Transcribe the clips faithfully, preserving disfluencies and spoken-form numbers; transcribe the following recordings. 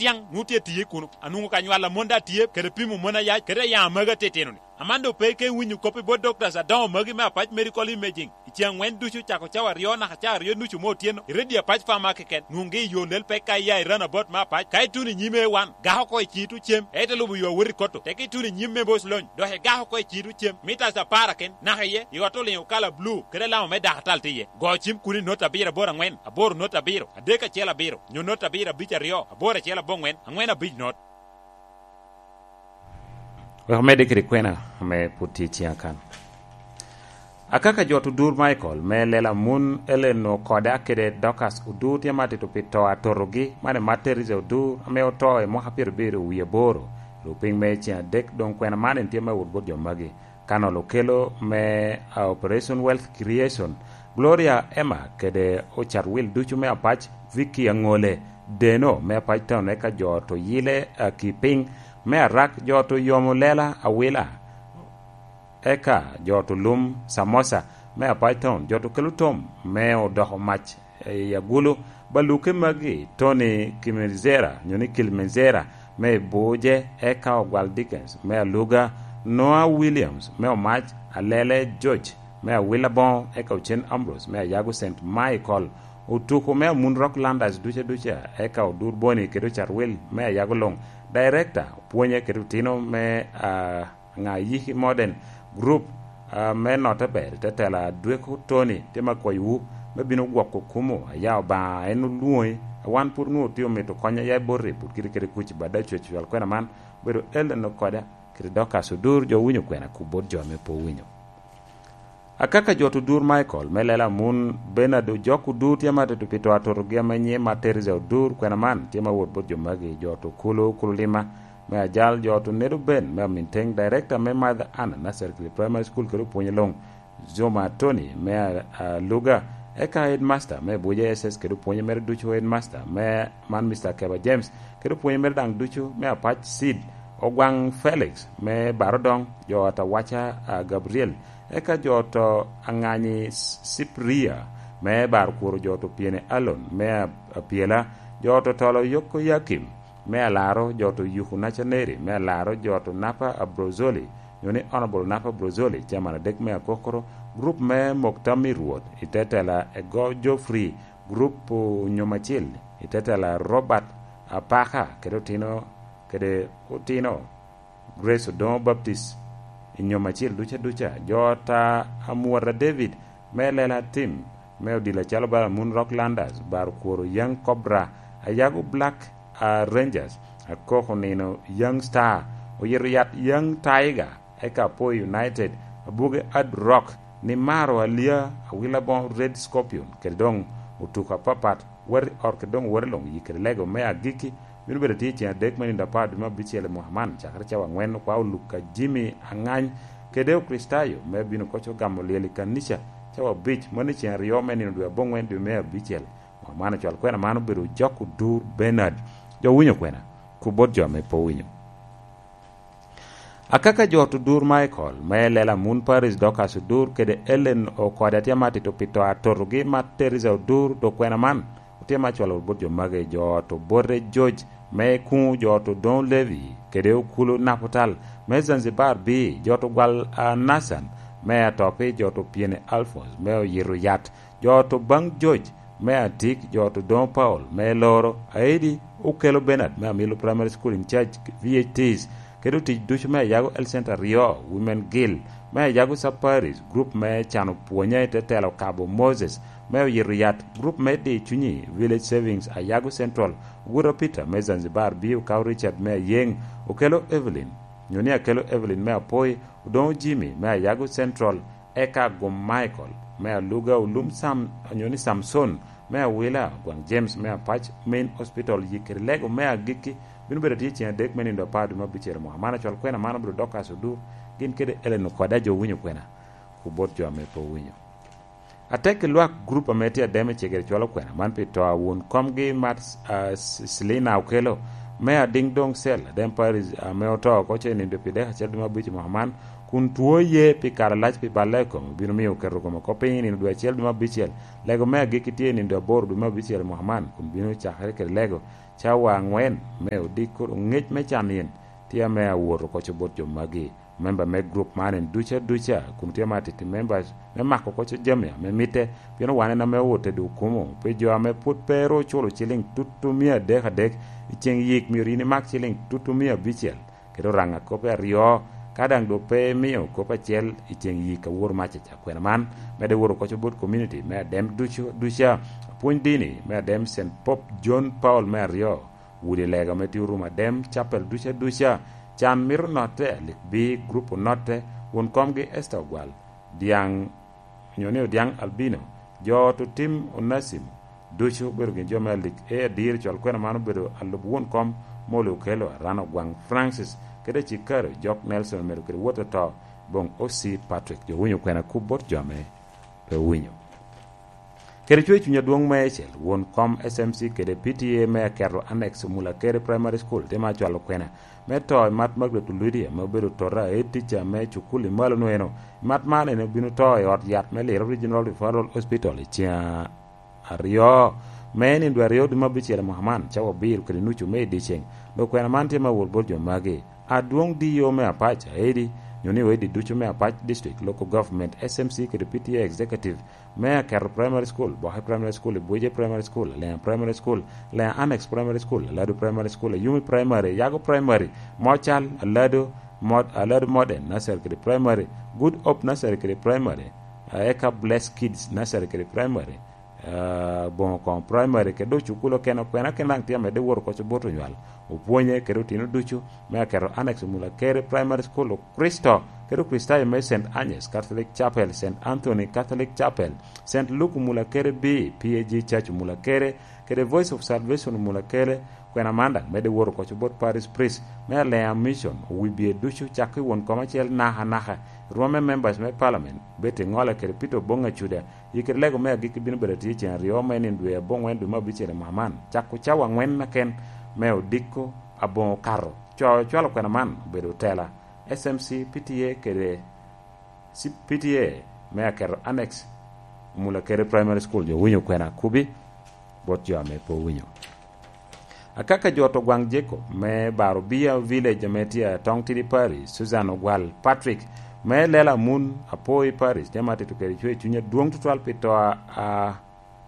tiaŋ, nwoŋo tye tiye kuno. Anwoŋo ka nywal a mon daŋ tye, kede pimo mon ayac, kede ayaŋ a magi atitino-ni. Aman doŋ pe ike winyo kop i bot doctors adoŋo magi me Apac Medical Imaging. I ceŋ aŋwen ducu, cako cawa aryo naka cawa aryo nucu me otyeno, i redio Apac Farmer keken, nwoŋgi i yo lel pek ka iya i Runabout me Apac. Ka ituno i nyim A one, gak oko i cito cem, ite lubo yo awot i Kotto, teke ituno i nyim me Boc Lony, dok igak oko i cito cem, mitas apar aken, naka iye, i ot oliŋo kala blu, kede alama me dakatal tye iye. Go cim kuno i nota abiro aboro aŋwen, aboro nota abiro, adek acel abiro, nyo nota abiro abic aryo, aboro acel aboŋwen, aŋwen abic not. Wek omedde kede kwena ame pwod tye i ciŋa kan. Akaka jot odur Michael me lela mun Ellen Okoda kede Dorcas Odur tye ma atito pi to atotogi, man i Mat Teresa Odur ame oto i mwaka pyerabiro wie aboro. Lupiny me ceŋ adek doŋ kwena man en tye me wot bot jo magi. Kanol okelo me, a, Operation Wealth Creation, Gloria Emma kede ocat wil ducu me Apac, Vicky Aŋole, Deno me Apac Town, eka jo to yile, a, ki piny me Arak, jo to yomo lela awila, eka jo to lum Samosa me Apac Town, jo to kelo tom me odoko mac i Agulu, baluke magi, Tony Kimenzera, nyo ni Kilmenzera, me Buje, eka Ogwal Dickens, me Aluga, Noah Williams, me Omac, Alele George, me Awila Boŋo, eka Ocen Ambrose, me Ayago Saint Michael, Otuko me Amun Rock Landers duca duca, eka Odur Boni kede Ocarwil, me Ayago Luŋ, Director, Pwonye kede Otino, me, ah, Ŋa Yiki Modern Group, ah, me Notte ber, te tela Dweko Tony, tye me kwayowu, me bino gwoko kumo, aya Obaŋa en olwoŋi, a wan pwod onwoŋo tye omito konya ya i boti, pwod kite kede kuc i bada cwec cwal kwena man, obedo Ellen Okoda, kede Dorcas Odur, jo winyo kwena, ku bot jo ame pe owinyo. Akaka jot Odur Michael, me lela mun Bernard Ojok Odur, tye ma atito pi to atotogi ame nyiŋe ma Teresa Odur, kwena man, tye ma wot bot jo magi, jot Okulu, Okulu Lima, me Ajal, jot Onedo Ben, me Aminteng, Director me Mother Anna Nursery Primary School, kede opwonye luŋ, Zuma Tony, me a-, Aluga, eka Headmaster, me Abuja S S, kede opwonye mere ducu Headmaster, me man Mister Keba James, kede opwonye mere daŋ ducu, me Apac Seed, Ogwaŋ Felix, me Barodoŋ, jo Atawaca, a, Gabriel, eka jo to Aŋanyi S-, Sipria, me Barkworo, jo to Pyene Alon, me a-, Apyela, jo to Tolo Yoko Yakim, me Alaro, jo to Yuku Nacaneri, me Alaro, jo to Napa Abrozoli, nyo ni Honorable Napa Abrozoli, Chairman adek me Akokoro, group me Mokta Mirwot, i te tela Ego Geoffrey, group Onyomacil, i te tela Robert Apaka, kede otino, kede otino Grace Odoŋo Baptist, i nyom acel duca duca, jo ta Amwota David, me Lela Tim, me odilo acalo bala Moon Rock Landers, Bar Kworo Young Cobra, Ayago Black, ah, Rangers, Akoko Nino Young Star, Oyito Yat Young Tiger, eka Apoyo United, Abuge Ad Rock, Nimaro Alia, Awila Boŋo Red Scorpion, kede doŋ otuko apapat, wati ot kede doŋ wati luŋ yik kede lego me agikki, bino bedo tye i ceŋ adek me nino apar dwe me abicel i mwaka man, cakere cawa aŋwen, okwa Oluka Jimmy Aŋany kede Okricitayo me bino koc ogamo lyel i kanica cawa abic, mano i ceŋ aryo me nino dwe aboŋwen dwe me abicel. Mwaka man ocwal kwena man obedo Ojok Odur Bernard. Jo winyo kwena, ku bot jo ame pe owinyo. Akaka jo Odur Michael, me Lela Moon Paris, Dorcas Odur, kede Ellen Okoda tye ma atito pi to atotogi ma Teresa Odur, dok kwena man otye ma cwalo bot jo magi, jo to Bote George, me Kuŋ, jo to Don Levy, kede Okulu Naputal, me Zanzibar B, jo to Gwal, ah, Nathan, me Atopi, jo to Pyene Alphonse, me Oyito Yat, jo to Baŋ George, me Atik, jo to Don Paul, me Loro, Aidi, Okelo Bernard, me Amilo Primary School in charge V H Ts, kede otic ducu me Ayago Health Center aryo, Women Guild, me Ayago Sub Parish, group me cano pwonye i te telo Kabo Moses, me Oyito Yat, group me Di Cunyi, Village Savings, Ayago Central, Oguta Peter, me Zanzibar, B, Okawo Richard, me Ayeŋ, Okelo Evelyn, nyo ni Akelo Evelyn, me Apoi, Odoŋo Jimmy, me Ayago Central, eka Agum Michael, me Aluga, Olum Sam, nyo ni Samson, me Awila, Gwaŋ James, me Apac Main Hospital, yik kede lego me agikki, bino bedo tye ceŋ adek me nino apar dwe me abicel mwaka man. Acwal kwena man obino dok aso dur, gin kede Ellen Okoda, jo winyo kwena, ku bot jo ame pe owinyo. Atek i lwak grup ame tye ademe cegere cwalo kwena man pi to a won komgi Mat, ah, S-, Selina Okelo, me Adiŋ Doŋ Cel, Adem Paris, ame oto oko ce nindo pi dek acel dwe me abic i mwaka man, kun two ye pi kare alac pi balle i kome, obino miyo oketo kome oko piny i nino dwe acel dwe me abicel. Lego me agikki tye i nino dwe aboro dwe me abicel i mwaka man, kun bino cakere kede lego cawa aŋwen me odiko ngec me can in tye ame awoto koco bot jo magi, member me group man en duca duca, kun tye ame atiti members me mako koco jami ame mitte, pien wan en ame owote dok kumo, pe jo ame pwod pe ru oculo ciliŋ tutu mia adek adek i ceŋ yik myero in imak ciliŋ tutu mia abicel. Kede oraŋa kop aryo, ka daŋ dok pe imio kop acel i ceŋ yik awor mac aca. Kwena man medde woro koco bot community me adem ducu duca, apwony dini me adem Saint Pope John Paul me aryo, wudi lega me tye orumo adem, capel duca duca, can mito notte, alik bi grup onotte, won komgi Esther Ogwal, Diaŋ, onyo ni Odiaŋ Albino, jo ot Otim Onasimo, ducu obedo gin jo me alik. E adir, cwal kwena man obedo alub won kom Moli Okello, Aran Ogwaŋ Francis, kede Cikaro Jok Nelson omedo kede wot oto boŋ O C Patrick. Jo winyo kwena kub bot jo ame pe winyo. Kede cwer cuny adwoŋ me ecel, won kom S M C kede P T A me aketo Annex Omulakere Primary School tye ma cwalo kwena me to i mat Margaret Oludi ame obedo tota, head teacher me cukul i malo nweno. Mat man en obino to i ot yat me Lira Regional Referral Hospital i ceŋ aryo me nino dwe aryo dwe me abicel i mwaka man, cawa abiro kede nucu me i dyeceŋ. Dok kwena man tye me awot bot jo magi: Adwoŋ D O me Apac, Aedi, nyo ni oedi ducu me Apac District Local Government, S M C kede P T A Executive, me Aketo Primary School, Boke Primary School, Ibuje Primary School, Lenga Primary School, Lenga Annex Primary School, Alado Primary School, Ayumi Primary, Yago Primary, Mocal, Alado, Mod-, Alado Modern Nursery kede Primary, Good Hope Nursery kede Primary, eh, eka Blessed Kids Nursery kede Primary, eh, Boŋo Koŋo Primary, kede dok cukul okene, okene, okene daŋ tye amedde woro koco bot onywal, opwonye kede otino ducu me Aketo Annex Omulakere Primary School, Kristo kede Okricitayo me Saint Agnes Catholic Chapel, Saint Anthony Catholic Chapel, Saint Luke Omulakere B, P A G Church Omulakere, kede Voice of Salvation Omulakere. Kwena man daŋ medde woro koco bot Parish Priest me Alea Mission, owibie ducu, cako i won kom acel naka naka, rwom me members me Parliament, Betty Ŋola kede Peter Oboŋ Acuda, i kede lego me agikki bino bedo atye i ceŋ aryo me nino dwe aboŋwen dwe me abicel i mwaka man, cako cawa aŋwen keken me odiko aboŋo okato. Co ocwalo kwena man obedo otela, S M C, P T A kede C-, P T A me Aketo Annex Omulakere Primary School. Jo winyo kwena kubi bot jo ame pe owinyo. Akaka jo to gwaŋ Jacob me Barobia Village ame tye Atong Tidi Parish, Susan Ogwal Patrick me Lela Mun Apoi Parish, tye ma tito kede cwer cuny adwoŋ tutwal pi to a, a,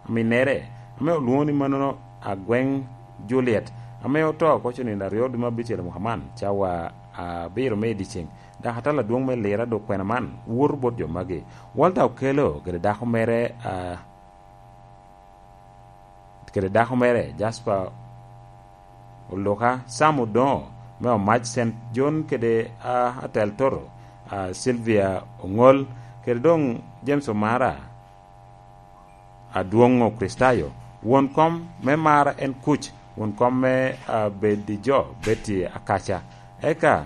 aminnere, ame olwoŋo ni manono Agweŋ Juliet, ame oto koco nino aryo dwe me abicel i mwaka man, cawa abiro me i dyeceŋ. Dok atala adwoŋ me Lira dok kwena man woto bot jo magi: Walter Okello kede dako mere, a, kede dako mere, Jasper Oluka, Sam Odoŋo me Omac Saint John kede, a, Atel Toto, a, Sylvia Oŋol, kede doŋ James Omara, Adwoŋ Okricitayo, won kom me Mara en Kuc, won kom me, a, Bedijo Betty Akaca, eka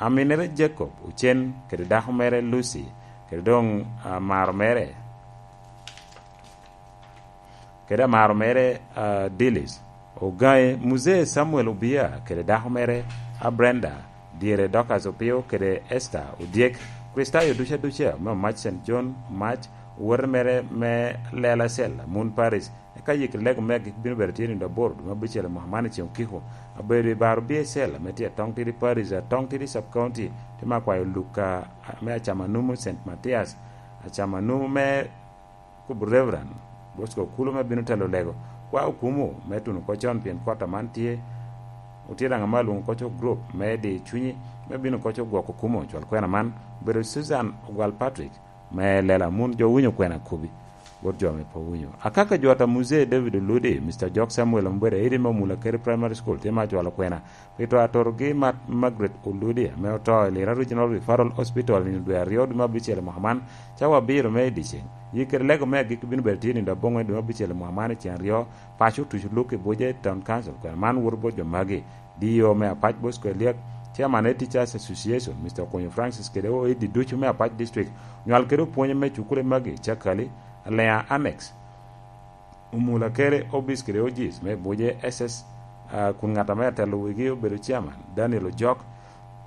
aminere Jacob Ocen kede dako mere Lucy, kede doŋ, a, amaro mere, kede amaro mere, a, Dilis Ogaŋe, Muzee Samuel Obia kede dako mere, a, Brenda, dyere Dorcas Opio kede Esther Odyek, Kricitayo ducu aduca me Omac Saint John Omac, owote mere me Lela Cell, Amun Parish, eka yik lego me agik bino bedo tye nino aboro dwe me abicel i mwaka man i ceŋ okiko. Abedo i Barobia Cell ame tye Atong Tidi Parish, Atong Tidi Sub County, tye ma akwayo Luka me Acamanumu Saint Mathias, Acamanumu me Kubu Reverend Bosco Okulu me bino telo lego. Kwa okumo me tuno oko con pien kwota man tye, otye daŋ ame alwoŋo koco group me di cunyi me bino koco gwoko kumo cwal kwena man. Obedo Susan Ogwal Patrick me Lela Mun, jo winyo kwena kubi bot jo ame pe owinyo. Akaka jwata Muzee David Oludi, Mister Jok Samuel Ombweda, Edi me Omulakere Primary School, tye ma cwalo kwena pi to atorogi Mat-, Margaret Oludi, ame oto i Lira Regional Referral Hospital nino dwe aryo dwe me abicel i mwaka man, cawa abiro me i dyeceŋ. Yik kede lego me agikki bino bedo tye nino aboŋwen dwe me abicel i mwaka man i ceŋ aryo, paco otuco luk i buce i Town Council. Kwena man woto bot jo magi: D O me Apac Bosco Eliak, Chairman me Teachers Association, Mister Okonyo Francis, kede oedi ducu me Apac District, onywal kede opwonye me cukule magi, Cakali, Alea Annex, Omulakere Obis kede Ojis me Buje S S, ah, kun ŋat ame atelo wigi obedo Chairman, Daniel Ojok.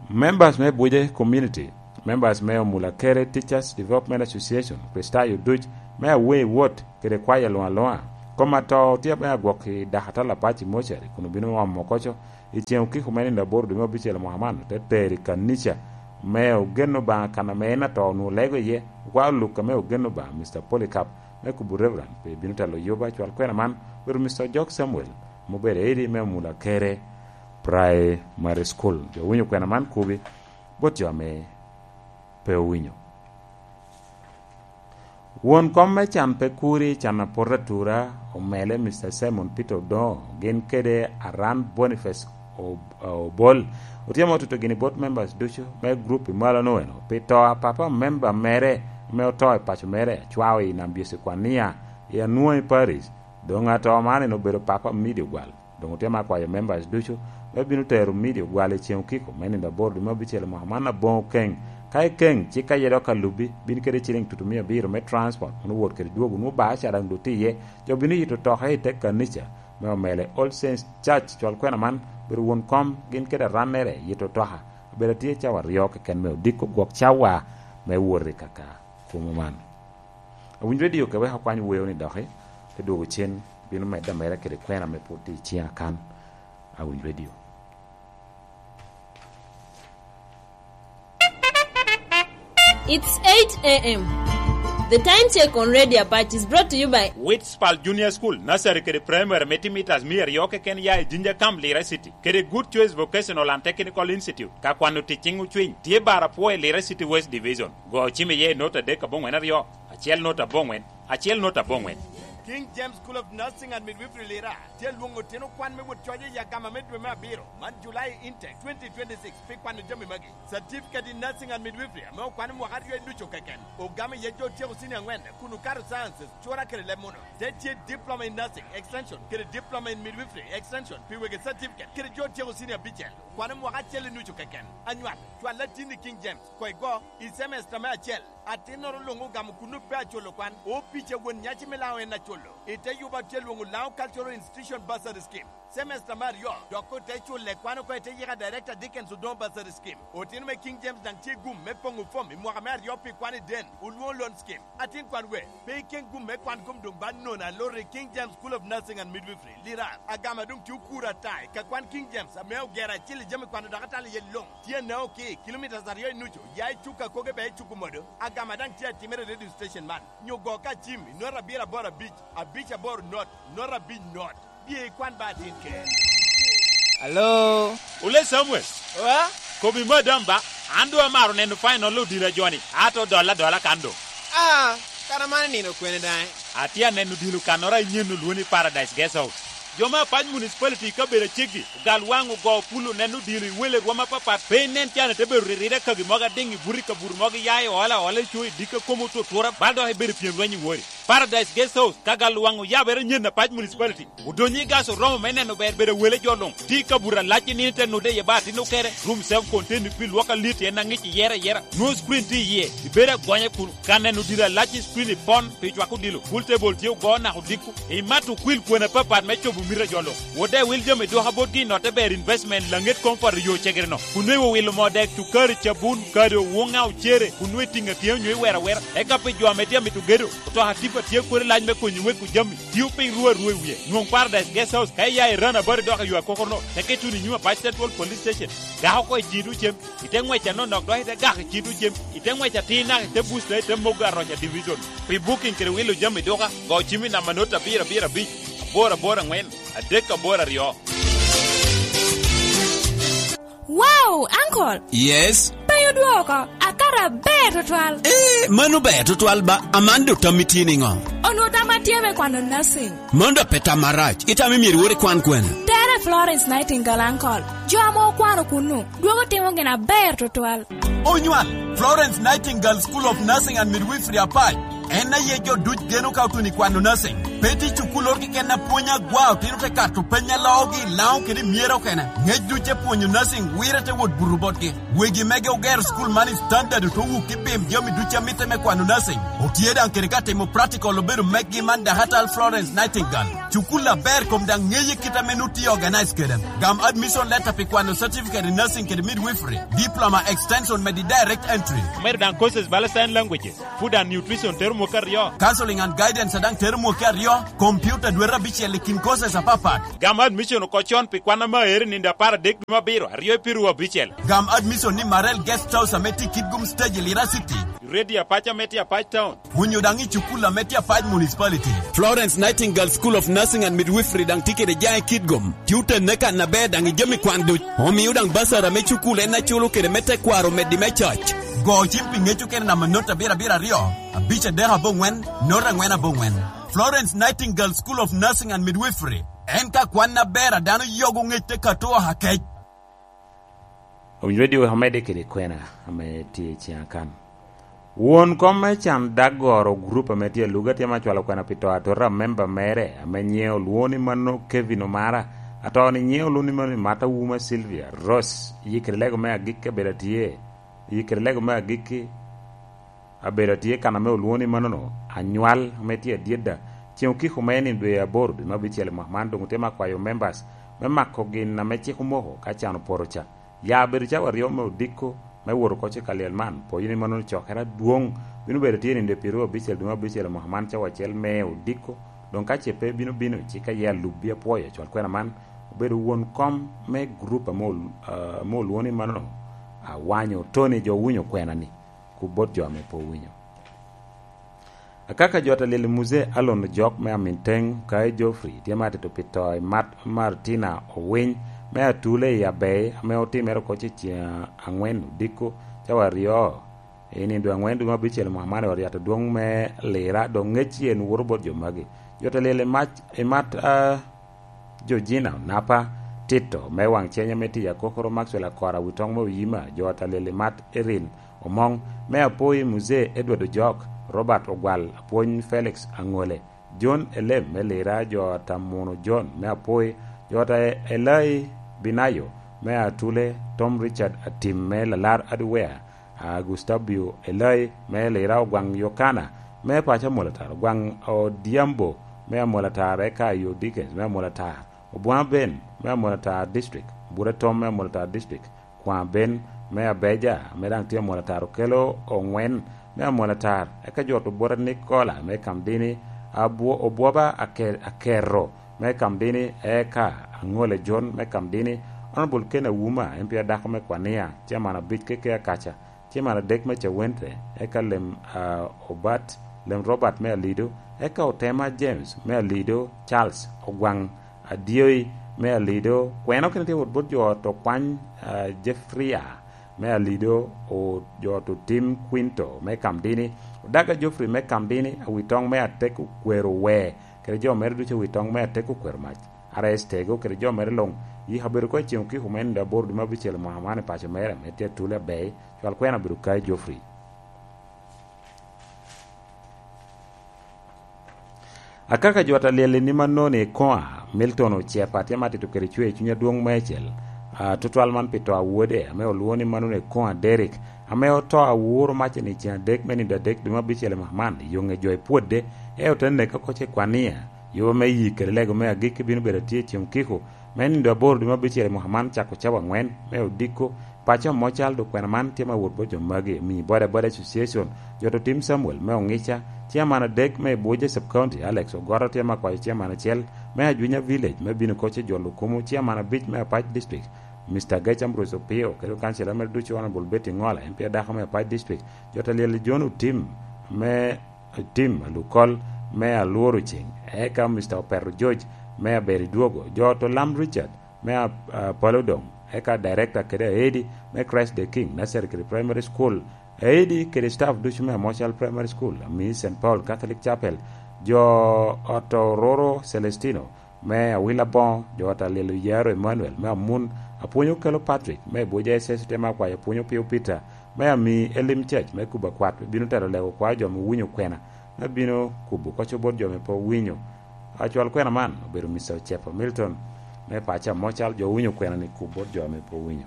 Members me Buje Community, members me Omulakere Teachers Development Association, Kricitayo duc me Awei Wot kede kwayo luŋ aluŋa, Kom atoo tye me agwok i dakatal apac i mochari, kun obino omo koco i ceŋ okiko me nino aboro dwe me abicel mwaka man, te tero i kanica me ogen Obaŋa kan ame en atoo onwoŋo lego iye. Okwao luk ame ogen Obaŋa, Mister Polycarp, me kubo Reverend, pe bino telo yuba cwal kwena man, obedo Mister Ojok Samuel, ame obedo edi me Omula Kere Primary School. Jo owinyo kwena man kubi bot jo ame pe owinyo. Won kom me can pe kuri, can apot atura, omele Mister Simon Peter Odongo, gin kede Aran Boniface Ob-, Obol, otyemo tuto gini bot members ducu me group i malo nono pi to a papa member mere ame oto i paco mere, acwao i Nam Byesi Kwania, i Anwoŋi Parish. Doŋ ato man en obedo papa Midi Ogwal. Doŋ otyema akwayo members ducu me bino tero Midi Ogwal i ceŋ okiko me nino aboro dwe me abicel mwaka man aboŋo keŋ. Ka ikeŋ, cik aye dok alubbi, bin kede ciliŋ tutumia abiro me transport, kun owot kede dwogo, nwoŋo bar ca daŋ doŋ tye iye. Jo bino yito toke i te kanica me omele All Saints Church, cwal kwena man, bedo won kom, gin kede arannere, yito toka. Obedo atye cawa aryo keken me odiko gwok cawa me wot i kaka kumo man. Awinyo redio ka wek akwany weo ni doki, te dwogo cen, bino medde ameda kede kwena ame pwod tye i ciŋa kan. Awinyo redio. It's eight a m. The time check on Radio Apache is brought to you by Witspal Junior School, Nursery kede Primary, me timo mitas mia aryo keken ya i Jinja Camp, Lira City, kede Good Choice Vocational and Technical Institute, ka kwano tic ciŋ ocwiny, tye bara pwo i Lira City West Division. Go cim iye i not adek aboŋwen aryo, acel not aboŋwen, acel not aboŋwen. King James School of Nursing and Midwifery Lira tye lwoŋo otino kwan me wot coc i agama me dwe me abiro, man July intake twenty twenty-six, pi kwano jami magi. Certificate in Nursing and Midwifery ame okwano mwaka aryo i ducu keken, ogamo iye jo otyeko senior angwen kun okato sciences, cura kede leb muno. Te tye Diploma in Nursing Extension kede Diploma in Midwifery Extension pi wegi certificate kede jo otyeko senior abicel, okwano mwaka acel i nucu keken. Anywal, cwal latin i King James, koŋ igo i semester me acel. Atinnoro luŋ ogamo kuno pe aculo kwan, opic a won nyaci me Laŋo en aculo. I te yuba tye lwoŋo Laŋo Cultural Institution Bursary Scheme. Semester me aryo, dok ote culo i kwan oko i te yika Director Dickens Odongo Bursary Scheme. Otino me King James daŋ tye gum me poŋo fom i mwaka me aryo pi kwan i den, olwoŋo loan scheme. Atin kwan we, pe ikeŋ gum me kwan kom doŋ ba nono aloro i King James School of Nursing and Midwifery, Lirar. Agama doŋ tye okuro ata i ka kwan King James ame ogero acil i jami kwano dakatal iye luŋ. Tye Naoki, kilomitas aryo i nucu, ya i Cuka Koge bea i Cuku Modo. Agama daŋ tye atimere i radio station man. Nyo go ka cim i not abiro aboro abic, abic aboro not, not abic not. Bye ikwan ba atin ker. Alo? Ole Samuel. Oa? Kobi madam ba, an doŋ amaro neno final odilo ajoni, ato dolla adola kan doŋ. Ah, kara man nino kwene daŋ? Atye aneno odilo kannoro a inyen olwoni Paradise Guest House. Jo me Apac Municipality i kabedo aceggi, ogal waŋ ogo pul oneno odilo i wele rwom apapat, pe inen can ite bedo riride kagi mogo adiŋ i buto i kabuto mogo iya i ola ola i co i dikka komo otutura, bal dok ibedo pyem lweny i wori. Paradise Guest House, ka gal waŋ oyabere nyen Apac Municipality. Odonyo i gas oromo me neno ber bedo wele jo luŋ. Tye i kabuto alac i nino te nude iye ba atin okere. Room self contained pi lwok alit en aŋic iyere ayera. Nwoŋo screen tye iye. Ibedo agonya kun ka neno diro alac i screen ipon pi cwako odilo. Pool table tye ogo naka odiko. Imato okwil kwena apapat me cobo mito a jo luŋ. Wode wil jami duka botgi i notte ber investment laŋet koŋ poto yo cegere-no. Kun nwe iwilo moo dek, cukari, cabun, kado, wuŋa, ocere, kun nwe itiŋ atye onyo iwero awera. Eka pi jo ame tye amito gedo, otoka tipa tye kodi lac me konyo weko jami. Tio piny ru arua i wie. Nwoŋ Paradise Guest House ka iya i Rana Bari dok i yo akokorno, teke tuno i nyim Apac Central Police Station. Gak oko i cito cem, ite ŋwec anonok dok ite gak i cito cem, ite ŋwec atir naka ite busta ite mogo aroca division. Pi booking kede wilo jami duka, go cim i namba not abiro abiro abic, aboro aboro aŋwen, adek aboro aryo. Wow, uncle! Yes? Pe odwoko, akato aber tutwal. Eh, mano ber tutwal ba, aman do tammi tye niŋo? Onwo tamma tye me kwano nursing. Mano da pe tam marac, itamo myero iwor ikwan kwene? Tere Florence Nightingale, uncle. Jo ame okwano kunnu, dwogo timo gin aber tutwal. Onywal, Florence Nightingale School of Nursing and Midwifery Apac. En aye jo duc geno ka otuno i kwano nursing. Pe tye cukuloro keken a pwonyo agwa otino te kato peny a loogi i Laŋo kede i myero okene. Ngec duc te pwonyo nursing wire te wot buto botgi. Wegi mege ogero cukul man i standard oto wuk i pim jami duc a mitte me kwano nursing. Otye daŋ kede ka timo practical obedo meggi man dakatal Florence Nightingale. Cukul aber kom daŋ ŋeye kit ame nut tye organize kede. Gam admission letter pi kwano certificate in nursing kede midwifery, diploma extension medi direct entry. Omedo daŋ courses bala sign languages, food and nutrition tero mwaka aryo. Counseling and guidance daŋ tero mwaka aryo. Computer dwete abicel i kin courses apapat. Gam admission oko con pi kwan ame aero i nino apar adek dwe me abiro, aryo i piru abicel. Gam admission ni Marel Guest House ame tye i Kitgum Stage i Lira City. Radio Apac ame tye Apac Town. Onyo daŋ i cukul ame tye Apac Municipality. Florence Nightingale School of Nursing and Midwifery daŋ tye kede jaŋ i Kitgum. Tye otenne kan aber daŋ i jami kwan duc. Omio daŋ basara me cukul en aculo kede me tekwaro meddi me coc. Go cim pi ŋec okene namba not abiro abiro aryo, abic adek aboŋwen, not angwen aboŋwen. Florence Nightingale School of Nursing and Midwifery. En ka kwan aber a dano yogo ŋec te kato akec. Owinyo radio omedde kede kwena ame tye i ciŋa kan. Won kom me can Daggoro gurup ame tye aluga tye ma cwalo kwena pi to atota a memba mere ame nyiŋe olwoŋo ni mano Kevin Omara. Ato-ni nyiŋe olwoŋo ni mano Mata Wuma Sylvia Rose. Yikere lego me agikki abedo atye. Yikere lego me agikki abedo atye kan ame olwoŋo ni manono, anywal ame tye adyeda. Ceŋ okiko me nino dwe aboro dwe me abicel i mwaka man doŋ otye me akwayo members me mako gin ame cik omoko ka can opoto ca. Ya bedo cawa aryo me odiko me wot oko cik alyel man, poyo ni manono cokere adwoŋ bino bedo tye nino dwe pyeraryo abicel dwe me abicel i mwaka man cawa acel me odiko. Doŋ ka ce pe bino bino, cik aye alubbi apwoyo acwal kwena man obedo won kom me gurup ame ol-, ah, ame olwoŋo ni manono, awanyo Tony jo owinyo kwena-ni. Ku bot jo ame pe owinyo. Akaka jo ata lyel i Muzee Alon Ojok me Aminteng, Kae Geoffrey, tye me atito pi to i Mat-, Martina Owiny, me Atule i Abei, ame otimere oko ce ceŋ aŋwen odiko, cawa aryo, i nino dwe aŋwen dwe me abicel i mwaka man i ot yat adwoŋ me Lira, dok ŋec en woto bot jo magi. Jo ata lyel i Mac-, i Mat-, a, Georgina Onapa, Tito me Waŋceny ame tye i Akokoro, Maxwell Akora Witoŋ me Oyima, jo ata lyel i Mat Erin Omoŋ, me Apoi Muzee Edward Ojok, Robert Ogwal, Apwony Felix Aŋole, John Elem me Lira, jo ata Muno John me Apoi, jo ata Elai Binayo me Atule, Tom Richard Atim me Lalar Adwea, a, Gustavio Elai me Lira, Ogwaŋ Yokana me paco Amolatar, Ogwaŋ Odhiambo me Amolatar, eka Ayo Dickens me Amolatar, Obwaŋ Ben me Amolatar District, Bura Tom me Amolatar District, Kwaŋ Ben me Abeja ame daŋ tye Amolatar, Okelo Oŋwen me Amolatar, eka jo Tubura Nikola me Kamdini, Abwo-, Obwoba Ake-, Akerro me Kamdini, eka Aŋole John me Kamdini, Honorable Ken Awuma, M P adako me Kwania, Chairman abic keke Akaca, Chairman adek me Cawente, eka Lem, ah, Obat, Lem Robert me Alido, eka Otema James me Alido, Charles Ogwaŋ Adyoi me Alido, kweno kene tye wot bot jo ot Okwany, ah, Jeffria me Alido, o-, jo ot Otim Quinto me Kamdini, Odaga Geoffrey me Kamdini, Awitoŋ me Atek Okwero Wer, kede jo mere ducu Awitoŋ me Atek Okwero Mac. R S Tego kede jo mere luŋ, yiko abedo oko i ceŋ okiko me nino aboro dwe me abicel i mwaka man i paco mere, ame tye Atule Abei, cwal kwena obedo Kai Geoffrey. Akaka jo ata lyel i nima noni i koŋa, Milton Ocepa tye ma tito kede cwer i cuny adwoŋ meicel, a, tutwal man pi to a wode, ame olwoŋo ni mano ni koŋa Derek, ame oto awuro macce ni ceŋ adek me nino adek dwe me abicel i mwaka man, i yo ŋe jo i Pwodde, e ote neke oko ce Kwania. Yo me yi kede lego me agikki bino bedo atye i ceŋ okiko me nino aboro dwe me abicel i mwaka man, cako cawa aŋwen me odiko. Paco Amocal dok kwena man tye ma wot bot jo magi, omiyo Boda Boda Association, jo to tim Samuel me Ongica, chairman adek me Buoja Sub County, Alex Ogoto tye ma kwayo chairman acel me Ajwinya Village me bino koc i jolo kumo, chairman abic me Apac District, Mister Gec Ambrose Opio, kede kancila mere ducu Honorable Betty Ngola, M P adako me Apac District, jo to lyel John Otim me Tim Alukol me Alworo Ceng, eka Mister Opero George me Aberi Dwogo, jo to Lam Richard me A-, Apollo Dong, eka Director kede Aedi me Christ the King Nursery kede Primary School, Aedi kede staff ducu me Amocal Primary School, ami Saint Paul Catholic Chapel, jo ot Ororo Celestino, me Awila Boŋo, jo ot Alyel Oyaro Emmanuel, me Amun, Apwony Okelo Patrick, me Abuja S S, tye me akwayo Apwony Opio Peter, me ami Elim Church, me kubo akwat, bino tero lego kwayo jo ame owinyo kwena, me bino kubo koco bot jo ame pe owinyo. Acwal kwena man obedo Mister Ocepa Milton, me paco Amocal, jo owinyo kwena ni kub bot jo ame pe owinyo.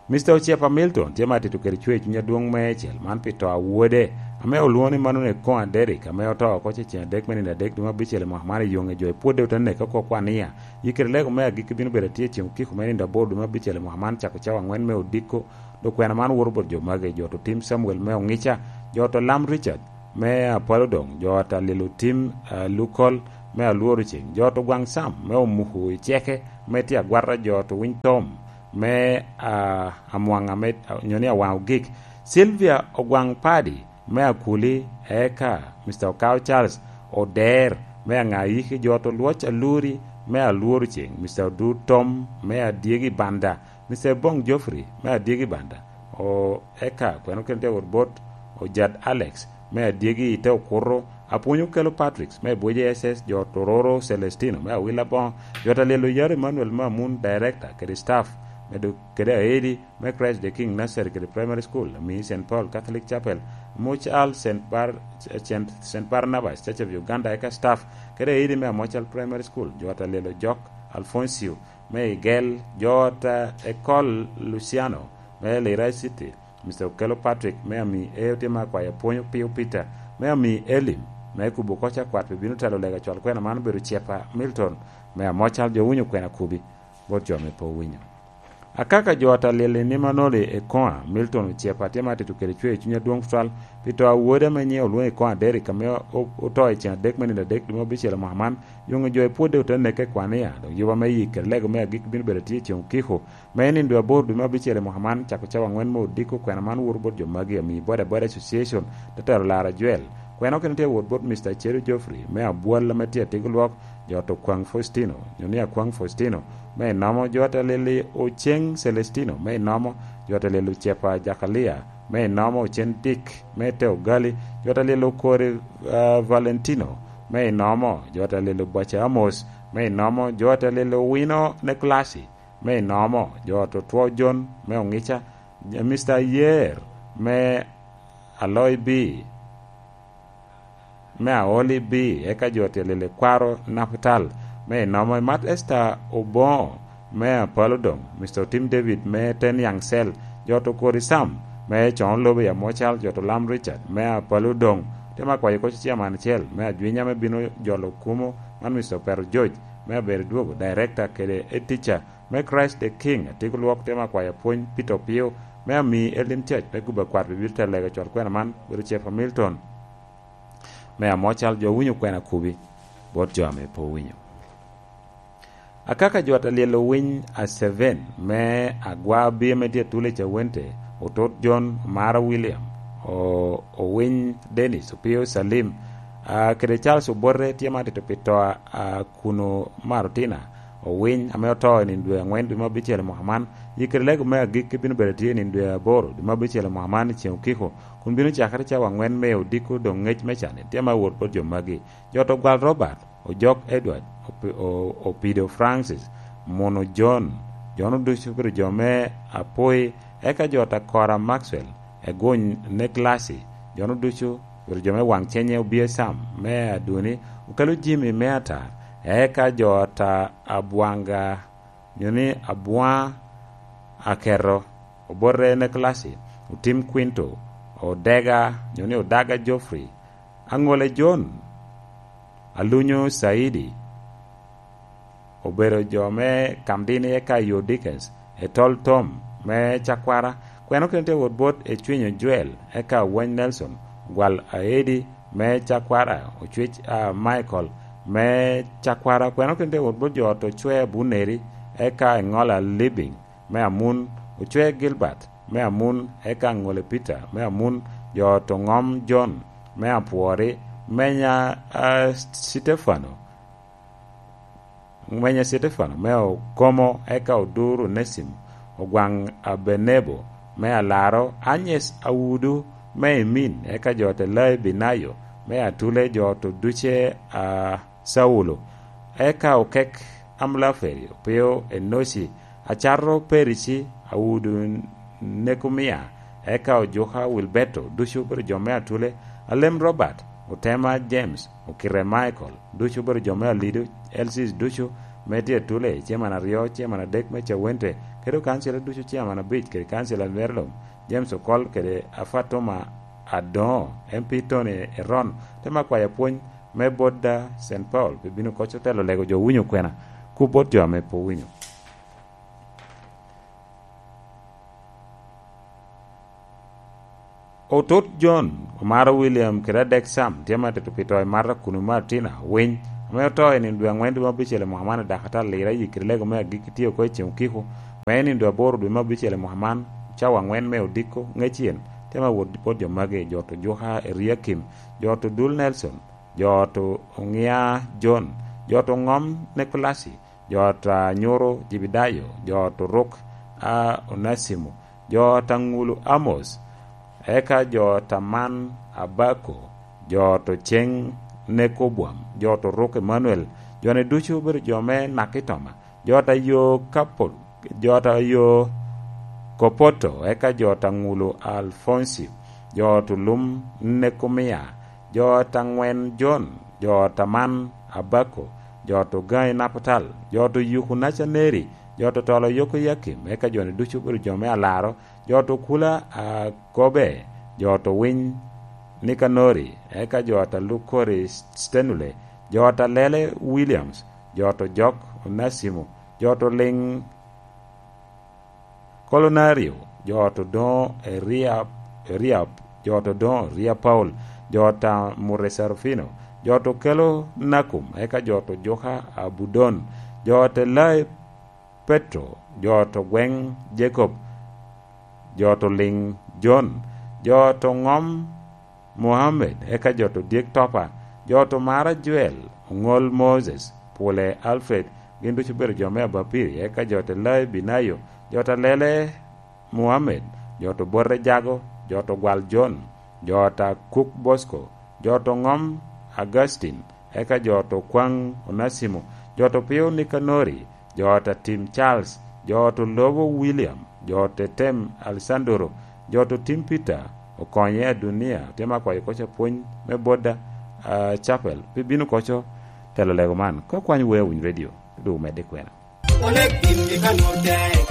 Mister Ocepa Milton tye ma atito kede cwer i cuny adwoŋ meicel man pi to a wode, ame olwoŋo ni mano ni Koŋa Derrick, ame oto oko ce ceŋ adek me nino adek dwe me abicel i mwaka man i yoŋe jo i Pwodde ote neke oko kwania. Yi kede lego me agikki bino bedo atye i ceŋ okiko me nino aboro dwe me abicel i mwaka man cako cawa aŋwen me odiko. Dok kwena man woto bot jo magi, jo to tim Samuel me Oŋica, jo to Lam Richard, me Apollo Doŋ, jo ata lilo tim, ah, Lukol me Alworo Ceŋ, jo to Gwaŋ Sam me Omuku i Ceke, me tye agwata jo to Winy Tom me, ah, Amwaŋa me, nyo ni Awaŋ Ogik, Sylvia Ogwaŋ Padi me Akuli, eka Mister Okao Charles Oder me Aŋayiki, jo to Lwoc Aluri me Alworo Ceŋ, Mister Odur Tom me Adyegi Banda, Mister Bong Geoffrey me Adyegi Banda, o, eka kweno kene tye wot bot Ojad Alex me Adyegi i te Okuto, Apwony Okelo Patrick me Bwije S S, jo to Roro Celestino me Awila Boŋo, jo ta Lyel Oyaro Emmanuel me Amun, director kede staff, me do-, kede aedi me Christ the King Nursery kede Primary School, ami Saint Paul Catholic Chapel, Amocal Saint Bar-, Saint, Saint Barnabas Church of Uganda, eka staff, kede aedi me Amocal Primary School, jo ta Lyel Ojok Alfoncio, me Igel, jo ta Ekol Luciano, me Lira City, Mister Okello Patrick, me ami e otye me akwayo apwony Opio Peter, me ami Elim, me kubo koc akwat pi bino telo lega cwal kwena man obedo Cepa Milton, me Amocal jo winyo kwena kubi, bot jo me po winyo. Akaka jo ata Lyel i nima noli i koŋa, Milton Ocepa tye ma atito kede cwer i cuny adwoŋ tutwal, pi to a wode ame nyiŋe olwoŋo i koŋa Derrick, ame o-, oto i ceŋ adek me nino adek dwe me abicel i mwaka man, yoŋe jo i pwodde ote neke i kwania, dok yuba me yik kede lego me agik bino bedo atye i ceŋ okiko, me nino dwe aboro dwe me abicel i mwaka man, cako cawa aŋwen me odiko kwena man woto bot jo magi, ami Boda Boda Association, te telo laro ajwel. Kwena okene tye wot bot Mister Cheru Geoffrey, me Abwal ame tye atiko lwok, jo to Kwaŋ Faustino, nyo ni Akwaŋ Faustino, me inomo, jo ata Lyel i Oceŋ Celestino, me inomo, jo ata Lyel Ocepa Jakalia, me inomo, Ocen Dick, me te Ogali, jo ata Lyel Okori, ah, Valentino, me inomo, jo ata Lyel Obaca Amos, me inomo, jo ata Lyel Owino Neklasi, me inomo, jo to Two John, me Oŋica, Mister Yer, me Aloibi, me Aoli B, eka jo ata Lyel Kwaro Naputal, me inomo, Imat Esther Oboŋo, me Apalo Doŋ, Mister Otim David, me Ten Yaŋ Cel, jo to Kori Sam, me Coŋo Lobo i Amocal, jo to Lam Richard, me Apalo Doŋ, te ma kwayo koc ciaman acel, me Ajwinya, me bino jolo kumo, man Mister Opero George, me Abedo Dwogo, Director kede Ed Teacher, me Christ the King, atiko lwok te ma kwayo apwony Peter Opio, me ami Elim Church, me guba kwat bibito te lega cwal kwena man, bedo Chef Hamilton. Me Amocal jo winyo kwena kubi, bot jo ame pe owinyo. Akaka jo ata Lyel Owiny Aseven, me Agwa Abir me tye atul i Cawente, Otot John, Omara William, o-, Owiny Dennis, Opio Salim, a, kede Charles Obote tye ma atito pi to a, a Kuno Marutina, Owiny, ame oto i nino dwe aŋwen dwe me abicel i mwaka man, yikere lego me agikki bino bedo tye i nino dwe aboro dwe me abicel i mwaka man i ceŋ okiko, kun bino cakere cawa aŋwen me odiko doŋ ŋec me can-ni tye ma wot bot jo magi. Jo to Gwal Robert, Ojok Edward, Opi-, O-, Opido Francis, Muno John, jo-nu ducu obedo jo me Apoi, eka jo ta Kora Maxwell, Egony Neklasi, jo-nu ducu obedo jo me Waŋ Cenye, Obia Sam me Aduni, Okelo Jimmy me Atar, eka jo ta Abwanga, nyo ni Abwaŋ Aketo, Obote Neklasi, Otim Quinto, Odega, nyo ni Odaga Geoffrey, Aŋole John, Alunyo Saidi, obedo jo me Kamdini eka Yo Dickens, Etol Tom me Cakwara, kweno kene tye wot bot Ecwinyo Joel, eka Wany Nelson, Gwal Aedi me Cakwara, Ocwec, a, Michael me Cakwara, kweno kene tye wot bot jo to Cwe Abuneri, eka Eŋola Living me Amun, Ocwe Gilbert me Amun, eka Ŋole Peter me Amun, jo to Ŋom John me Apwori, menya, a, Stefano, menya Stefano me Okomo, eka Odur Onesimo, Ogwaŋ Abenebo me Alaro, Anyes Awudu me Emin, eka jo te Lai Binayo me Atule, jo to duce a Saulo, eka Okek Amlaferi, Opio Enoci, Acato Perici, Awudu Nekumia, eka Ojuka Wilberto, ducu obedo jo me Atule, Alem Robert, Otema James, Okite Michael, ducu obedo jo me Alido, L Cs ducu me tye Atule, Chairman aryo, Chairman adek me Cawente, kede okancila ducu, Chairman abic, kede kancila Merlom, James Okol, kede Afatuma Adoŋo, M P Tony Eron, te ma kwayo apwony me bot da Saint Paul, pi bino koc otelo lego jo winyo kwena, ku bot jo ame pe owinyo. Otut John, Omaro William kede Adek Sam tye ma tito pi to i Marta Kunuma Tina Winy, ame oto i nino dwe angwen dwe me abicel i mwaka man i Dakata Lira, i kede lego me agikki tye oko i Ceng Okiko, me i nino dwe aboro dwe me abicel i mwaka man, cawa angwen me odiko ŋecen, tye ma wot bot jo magi, jo to Juka Eriakim, jo to Dul Nelson, jo to Oŋia John, jo to Ŋom Nikolasi, jo ta Nyuru Jebedayo, jo to Ruk a Onasimo, jo ta Ŋulu Amos, eka jo ta Man Abako, jo to Ceŋ Nekobwam, jo to Ruk Emanuel, jo-ni ducu obedo jo me Nakitoma, jo ta Yo Kapo-, jo ta Yo Kopoto, eka jo ta Ŋulu Alfonsi, jo to Lum Nekomia, jo ta Ŋwen Jon, jo ta Man Abako, jo to Gaŋi Naputal, jo to Yuku Nacaneri, jo to Tolo Yoko Yakim, eka jo-ni ducu obedo jo me Alaro, jo to Kula Akobe, jo to Winy Nikanori, eka jo ta Lukori Stenule, jo ta Lele Williams, jo to Jok Onasimo, jo to Liŋ Kolonario, jo to Doŋo Eriab, Eriab, jo to Doŋo Eria Paul, jo ta Mure Serafino, jo to Kelo Nakum, eka jo to Juka Abudon, jo te Lai Petro, jo to Gweŋ Jacob, jo to Liŋ Jon, jo to Ŋom Mohammed, eka jo to Dyek Topa, jo to Mara Joel, Oŋol Moses, Pule Alfred, gin ducu obedo jo me Abapiri, eka jo to Lai Binayo, jo to Lele Mohammed, jo to Bote Jago, jo to Gwal Jon, jo ta Kuk Bosco, jo to Ŋom Augustine, eka jo to Kwaŋ Onasimo, jo to Pio Nikanori, jo ta Tim Charles, jo to Lobo William, jo te Tem Alessandro, jo to Tim Peter, Okonye Adunia, tye ma kwayo koca pwony me Boda, ah, Chapel, pi bino koco telo lego man. Ka kwany wea winy radio, du medde kwena. Onek gin i kano tek,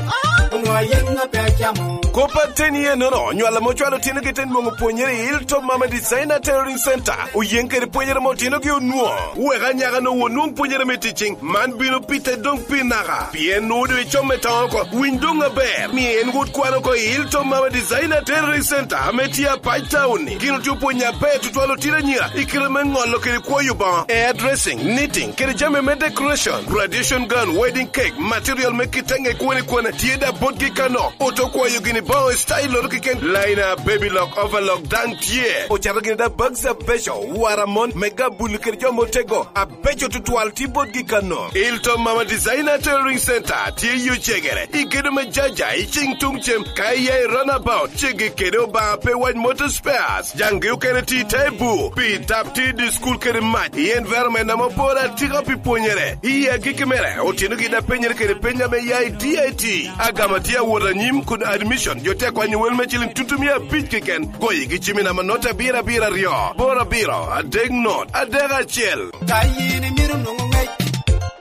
onwoŋo ayen ŋa pe acamo. Kop ateni enono, nywal ame ocwalo otinogi te nwoŋo pwonyere i Hilltop Mama Designer Tailoring Center, oyeŋ kede pwonyere ame otinogi onwoŋo. Wek anyaka-nu onwoŋ pwonyere me ticing, man bino pite doŋ pi naka, pien nwoŋo doŋ icome toŋo oko. Winy doŋ aber, ni en wot kwan oko i Hilltop Mama Designer Tailoring Center ame tye Apac Town-ni. Gin otye opwonyo aber tutwal otino anyira i kite me ŋolo kede kwoyo boŋo, hairdressing, knitting, kede jami me decoration, graduation gown, wedding cake, material me kitenge kwene kwene, tye da botgi kano. Oto kwayo gini boŋo i style-loto keken, liner, baby lock, overlock, daŋ tye. Ocato gini da bags abeco, wara mon, me gabul kede jo motego, abeco tutwal tye botgi kano. Ilton Mama Designer Tailoring Center tye i Ocegere, i gedo me Jaja, i cing tuŋ cem, ka iya i runabout, ceggi kede Obaŋa pe wac Motor Spares. Jaŋgi okene tye i te bur, pi tap tye i dye cukul kede mac, i environment ame oporo atika pi pwonyere. I agikki mere, otinogi daŋ penyere kede peny ame ya i D I T. Agama tye awot anyim kun admission, jo tye akwanyo wel me ciliŋ tutumia abic keken. Goyigi cim i namba not abiro abiro aryo, boro abiro, adek not, adek acel. Ka yin imito nwoŋo ŋec,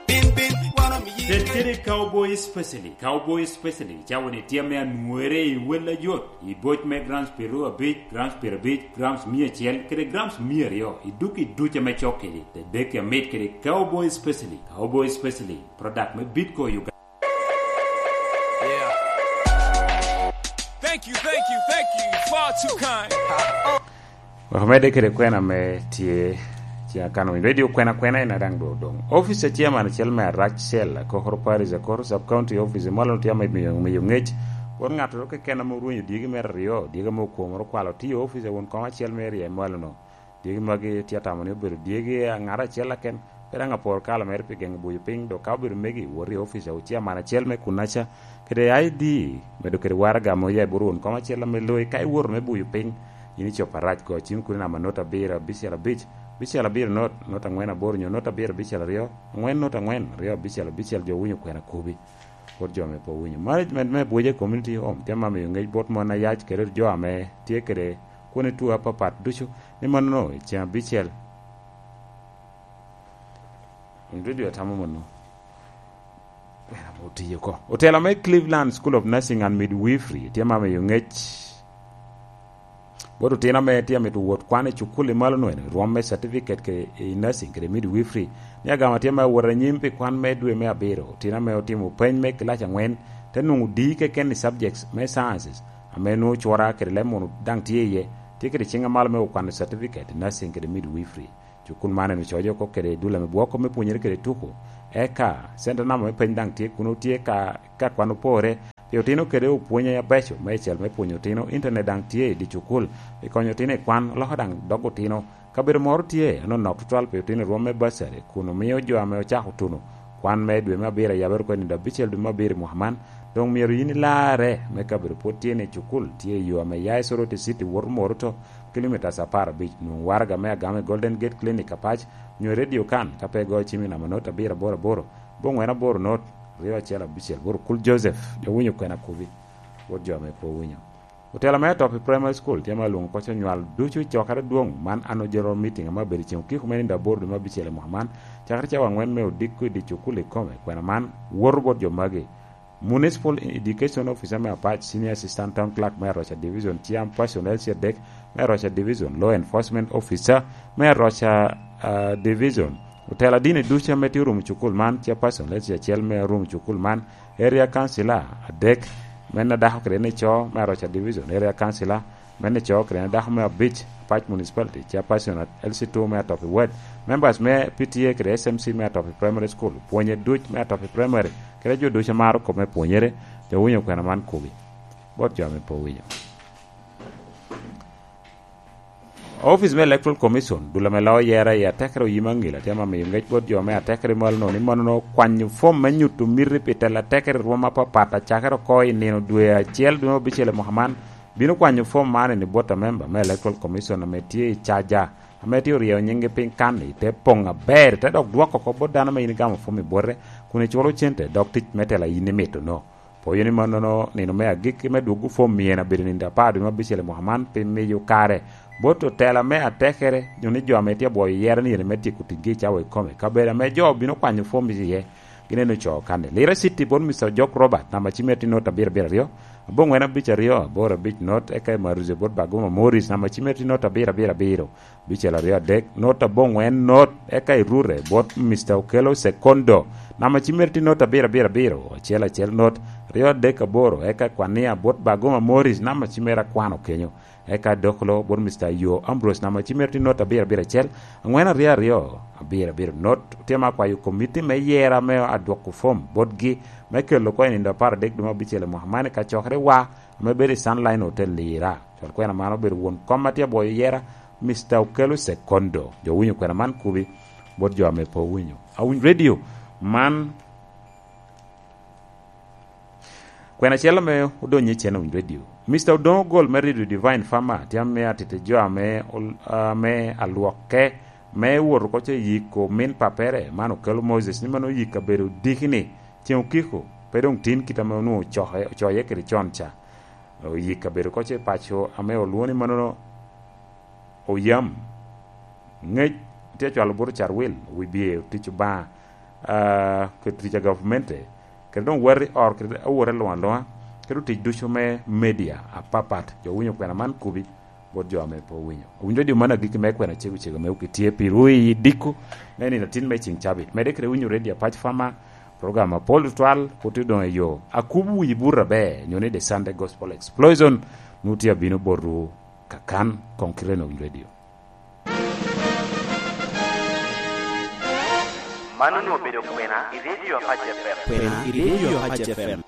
bin, bin, wan omiyi. Ted kede Cowboy Specialist. Cowboy Specialist, cawa-ni tye ame anwore i wel ajot, i boc me grams piero abic, grams piero abic, grams mia acel, kede grams mia aryo, i duk i duc ame cok kedi. Tedeki amit kede Cowboy Specialist. Cowboy Specialist, product me Bitco Uganda. Yeah. Thank you, thank you, thank you. Far too kind. Wek omedde kede kwena ame tye, tye akano winyo. Radio kwena kwena en adaŋ do odoŋ. Office a chairman acel me Arac Cell, Akokoro Parish, Akokoro Sub County Office, mwalo tye ame miyo, miyo ŋec. Won ŋattoro keken ame orwenyo dyegi mere aryo, dyegi ame okwomoro kwalo, tiyo office a won kom acel me area i mwalo-nu. Dyegi magi tye atamo ni obedo dyegi a ŋat acel aken, pe daŋ aporo kalo mere pi geŋo buyo piny, dok ka obedo megi, wot i ofice a chairman acel me kunnaca, kede I D, medo kede waraga ame oya i bot won kom acel ame loi. Ka iwoto me buyo piny, in icopo Arac, go cim kodi namba not abiro abicel abic, abicel abiro not, not angwen aboro, nyo not abiro abicel aryo, angwen not angwen, aryo abicel abicel, jo winyo kwena kobi. Bot jo ame pe owinyo. Management me Abuja Community Home tye ma miyo ŋec bot mon ayac kede jo ame tye kede kwone tuo apapat ducu, ni mannono i ceŋ abicel. Winy radio atamo mano. Kwena ame otiyo oko. Otelo me Cleveland School of Nursing and Midwifery tye ma miyo ŋec bot otino ame tye amito wot kwan i cukul i malo nwene, rwom me certificate ke-, i nursing kede midwifery, ni agama tye me awot anyim pi kwan me dwe me abiro. Otino ame otimo peny me kilac angwen, te nwoŋo D keken i subjects me sciences, ame nwoŋo cura kede leb munu daŋ tye iye. tye kede ciŋ amalo me okwano certificate i nursing kede midwifery. Cukul man en ococo oko kede dul ame bwoko me pwonyere kede tuko. Eka center number me peny daŋ tye kuno, tye ka, ka kwan opore pi otino kede opwony abeco me icel me pwonyo otino. Internet daŋ tye i dye cukul pi konyo otino i kwan, oloko daŋ dog otino. Kabedo moro tye anonok tutwal pi otino i rwom me bursary, kun omio jo ame ocako tuno kwan me dwe me abiro, ayabere oko i nino abicel dwe me abiro i mwaka man, doŋ myero yin ilarre me kabedo pwod tye ni cukul tye i yo ame ya i Soroti City woto Moroto, kilomitas apar abic. Nwoŋ waraga me agama i Golden Gate Clinic Apac, nyo i Radio Kan ka pe igoyo cim i namba not abiro aboro aboro, abongwen aboro not, aryo acel abicel aboro. Kul Joseph, jo winyo kwena kubi, wot jo ame pe owinyo. Otela me Atopi Primary School tye ma lwoŋo kocco nywal ducu i cokere adwoŋ man, annual general meeting ame abedo i ceŋ okiko me nino aboro dwe me abicel i mwaka man, cakere cawa angwen me odiko i dye cukul ikome. Kwena man woto bot jo magi: Municipal Education Officer me Apac, Senior Assistant Town Clerk me Aroca Division, Chairperson L C adek me Aroca Division, Law Enforcement Officer me Aroca, ah, Division, otela dini ducu ame tye orumo cukul man, Chairperson L C acel me orumo cukul man, Area Councilor adek, men adako kede ni co me Aroca Division, Area Councilor men ni co kede ni dako me abic, Apac Municipality, Chairperson L C two me Atopi Ward, members me P T A kede S M C me Atopi Primary School, pwonye duc me Atopi Primary, kede jo ducu a maro kop me pwonyere, jo winyo kwena man kubi, bot jo ame pe owinyo. Office me Electoral Commission, dul ame lao yera i atekere oyim aŋil, atye ame miyo ŋec bot jo me atekere malo-nu ni mono kwanyo fom me nyuto miti pi telo atekere i rwom apapat, acakere oko i nino dwe acel, dwe me abicel i mwaka man, bino kwanyo fom man i bot amemba me Electoral Commission ame tye i caja, ame tye oryeyo nyingi piny kan i te poŋ aber, te dok dwoko oko bot dano ame yin igamo fom i bwote, kun iculo cente, dok tic me tela yin imito-nu. Poyo ni mannono nino me agikki me dwoggo fom myero abedo nino apar dwe me abicel i mwaka man, pi miyo kare bot otela me atekere, nyo ni jo ame tye abwoyo yera ni ene me tyeko ticgi i cawa ikome. Kabedo ame jo obino kwanyo fom iye, gin ene ocoo kanni. Lira City bot Mister Ojok Robert, namba cim mere tye not abiro abiro aryo, abongwen abic aryo, aboro abic not, eka i Maruze bot Baguma Morris, namba cim mere tye not abiro abiro abiro, abicel aryo adek, not aboŋwen not, eka i Rure bot Mister Okello Sekondo, namba cim mere tye not abiro abiro abiro, acel acel not, aryo adek aboro, eka i Kwania bot Baguma Morris, namba cim mere akwano kenyo, eka i Dokolo bot Mister Yo Ambrose, namba cim mere tye not abiro abiro acel, angwen aryo aryo, abiro abiro not. Otye ame akwayo komiti me yera me adwoko fom botgi, me kelo oko i nino apar adek dwe me abicel i mwaka man i kacokerewa ame bedo i Sunline Hotel Lira. Cwal kwena man obedo won kom a tye abwoyo yera, Mister Okello Sekondo. Jo winyo kwena man kubi, bot jo ame pe owinyo. Awiny Radio man, kwena acel ame odonyo i cen Awiny Radio. Mister Odongo Gol me Radio Divine Farmer, tye ame atito jo ame ol-, ame alwokke, me wot oko ce yiko min papere, man Okello Moses, ni man oyik kabedo diki ni, ceŋ okiko, pe doŋ tin kit ame onwoŋo ocoke-, ocoye kede con ca. Oyik kabedo oko ce paco ame olwoŋo ni manono oyam. Ŋec tye acwalo buto carwil, wi bye otic Obaŋa, ah, kede tic a gavmente, kede doŋ wati or kede awote luŋ aluŋa, kede otic ducu me media apapat. Jo winyo kwena man kubi, bot jo ame pe owinyo. Owinyo redio man agikki me kwena cego cego ame okitye pi ruu i diko me nino atin me ceŋ cabit. Medde kede winyo redio Apac Farmer, program apol tutwal, pwod tye doŋ i yo. Akubo wi buto aber, nyo ni The Sunday Gospel Explosion, nwoŋo tye abino botwu kakan, koŋ kite no Awiny Radio. Man onwoŋo obedo kwena i redio Apac F M. Kwena i redio Apac F M.